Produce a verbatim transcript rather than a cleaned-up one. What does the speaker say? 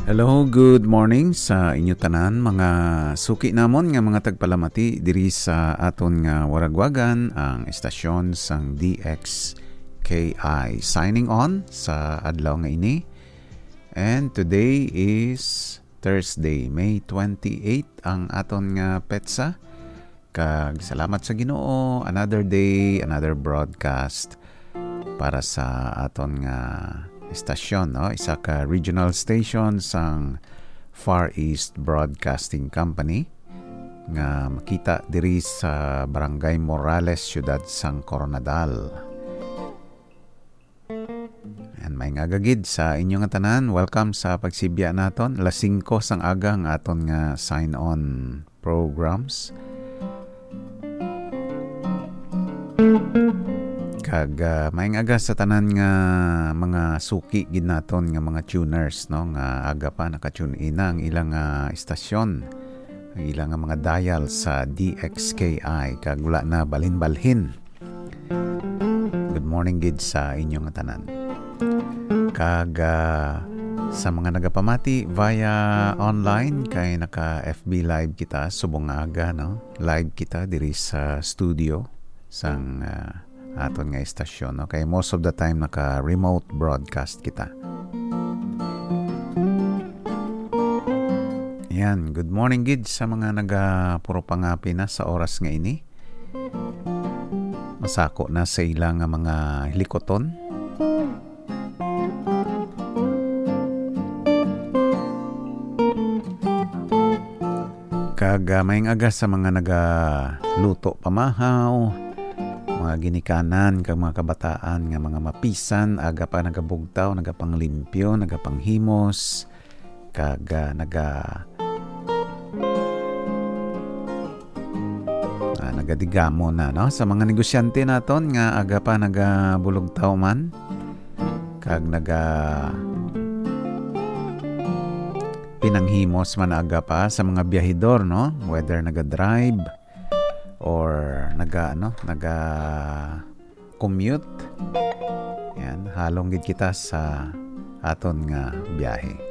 Hello, good morning sa inyo tanan, mga suki namon nga mga tagpalamati diri sa aton nga waragwagan, ang estasyon sang D X K I. Signing on sa adlaw nga ini. And today is Thursday, May twenty-eight ang aton nga petsa. Kag salamat sa Ginoo, another day, another broadcast para sa aton nga estasyon, no? Isa ka regional station sang Far East Broadcasting Company nga makita diri sa Barangay Morales, Siyudad sang Koronadal. And may nga gid sa inyo nga tanan, welcome sa pagsibya naton. Alas singko sang aga ang aton nga sign-on programs. Kag, ah, maayong aga sa tanan nga mga suki gid naton nga mga tuners, no, nga aga pa naka-tune in na ang ilang, ah, istasyon, ang ilang, ah, mga dial sa D X K I, kag wala na balhin-balhin. Good morning gid sa inyo nga tanan. Kag, ah, sa mga nagapamati via online, kay naka F B Live kita subong nga aga, no? Live kita diri sa studio sang, ah, aton nga estasyon, no? Kay most of the time naka remote broadcast kita. Yan, good morning gid sa mga naga puro pangapi na sa oras nga ini. Masako na sa ila nga mga hilikoton. Kag, ah, maayong aga sa mga nagaluto pamahaw, mga ginikanan kag mga kabataan nga mga mapisan, aga pa nagabugtaw, nagapanglimpyo, nagapanghimos, kag, ah, naga-, ah, nagadigamo na, no? Sa mga negosyante naton nga aga pa nagabulugtaw man, kag naga-, pinanghimos man aga pa sa mga biyahidor, no? Whether naga-drive or naga-, ano, naga-commute. Yan, halong gid kita sa aton nga biyahe.